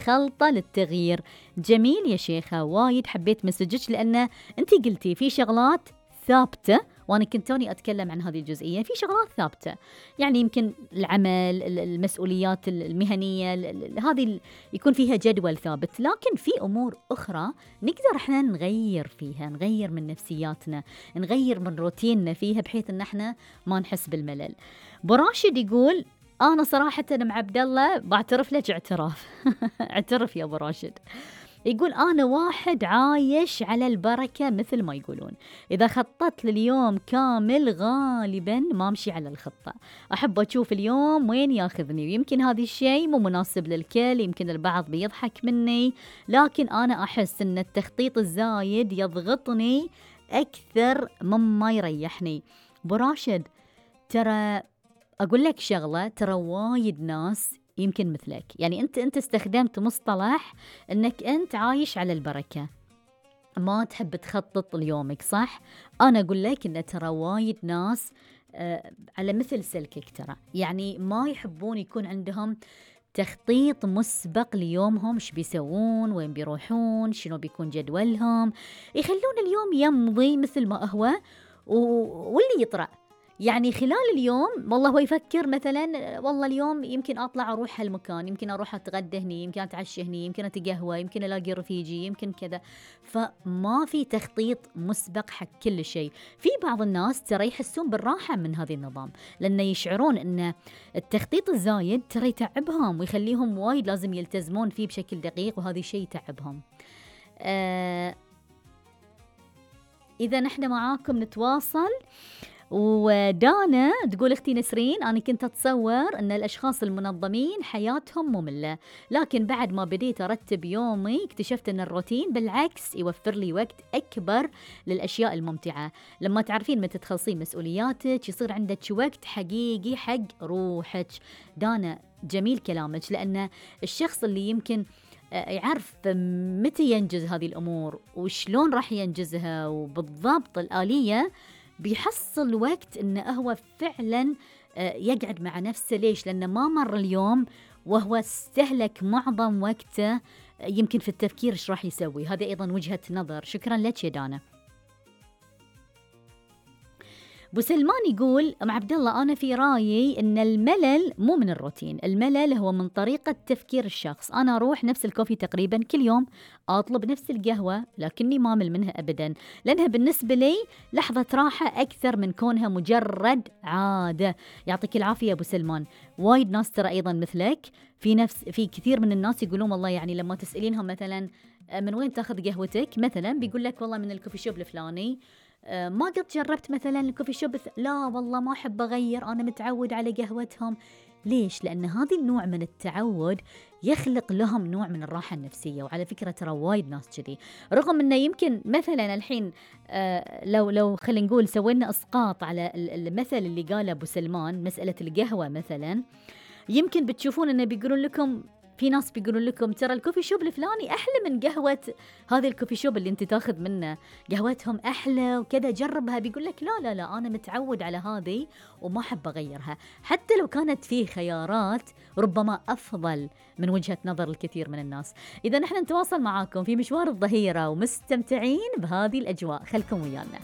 خلطة للتغيير. جميل يا شيخة، وايد حبيت مسجك، لأن أنتي قلتي في شغلات ثابتة، وأنا كنت توني أتكلم عن هذه الجزئية. في شغلات ثابتة يعني يمكن العمل، المسؤوليات المهنية، هذه يكون فيها جدول ثابت، لكن في أمور أخرى نقدر احنا نغير فيها، نغير من نفسياتنا، نغير من روتيننا فيها، بحيث ان احنا ما نحس بالملل. براشد يقول أنا صراحة مع عبد الله بعترف لك اعتراف اعترف يا أبو راشد. يقول أنا واحد عايش على البركة مثل ما يقولون، إذا خططت لليوم كامل غالبا ما أمشي على الخطة، أحب أشوف اليوم وين ياخذني، ويمكن هذا الشيء مو مناسب للكل، يمكن البعض بيضحك مني، لكن أنا أحس أن التخطيط الزايد يضغطني أكثر مما يريحني. براشد ترى أقول لك شغلة، ترى وايد ناس يمكن مثلك، يعني أنت استخدمت مصطلح أنك أنت عايش على البركة، ما تحب تخطط ليومك، صح؟ أنا أقول لك أن ترى وايد ناس على مثل سلكك، ترى يعني ما يحبون يكون عندهم تخطيط مسبق ليومهم، ايش بيسوون، وين بيروحون، شنو بيكون جدولهم، يخلون اليوم يمضي مثل ما هو واللي يطرأ. يعني خلال اليوم والله هو يفكر مثلا والله اليوم يمكن أطلع أروح هالمكان، يمكن أروح أتغدى هني، يمكن أتعشى هني، يمكن أتقهوى، يمكن ألاقي رفيجي، يمكن كذا. فما في تخطيط مسبق حق كل شيء. في بعض الناس ترى يحسون بالراحة من هذا النظام، لأن يشعرون أن التخطيط الزايد ترى يتعبهم ويخليهم وايد لازم يلتزمون فيه بشكل دقيق، وهذا شيء يتعبهم. إذا نحن معاكم نتواصل. ودانا تقول اختي نسرين أنا كنت أتصور أن الأشخاص المنظمين حياتهم مملة، لكن بعد ما بديت أرتب يومي اكتشفت أن الروتين بالعكس يوفر لي وقت أكبر للأشياء الممتعة. لما تعرفين متى تخلصين مسؤولياتك يصير عندك وقت حقيقي حق روحك. دانا جميل كلامك، لأن الشخص اللي يمكن يعرف متى ينجز هذه الأمور وشلون راح ينجزها وبالضبط الآلية، بيحصل وقت إنه هو فعلا يقعد مع نفسه. ليش؟ لأنه ما مر اليوم وهو استهلك معظم وقته يمكن في التفكير إيش راح يسوي. هذا أيضا وجهة نظر. شكرا لك يا دانا. أبو سلمان يقول مع عبد الله أنا في رأيي إن الملل مو من الروتين، الملل هو من طريقة تفكير الشخص. أنا أروح نفس الكوفي تقريبا كل يوم، أطلب نفس القهوة، لكني ما أمل منها أبدا، لأنها بالنسبة لي لحظة راحة أكثر من كونها مجرد عادة. يعطيك العافية أبو سلمان. وايد ناس ترى أيضا مثلك، في كثير من الناس يقولون والله يعني لما تسألينهم مثلا من وين تاخذ قهوتك مثلا، بيقول لك والله من الكوفي شوب الفلاني. ما قد جربت مثلا الكوفي شوب لا والله ما أحب أغير، أنا متعود على قهوتهم. ليش؟ لأن هذا النوع من التعود يخلق لهم نوع من الراحة النفسية. وعلى فكرة ترى وايد ناس كذي، رغم أنه يمكن مثلا الحين لو خلينا نقول سوينا إسقاط على المثل اللي قاله أبو سلمان، مسألة القهوة مثلا، يمكن بتشوفون أنه بيقولون لكم، في ناس بيقولون لكم ترى الكوفي شوب الفلاني أحلى من قهوة هذه الكوفي شوب اللي انت تاخذ منه، قهوتهم أحلى وكذا، جربها. بيقول لك لا لا لا أنا متعود على هذه وما أحب أغيرها، حتى لو كانت فيه خيارات ربما أفضل من وجهة نظر الكثير من الناس. إذا نحن نتواصل معاكم في مشوار الظهيرة ومستمتعين بهذه الأجواء، خلكم ويانا.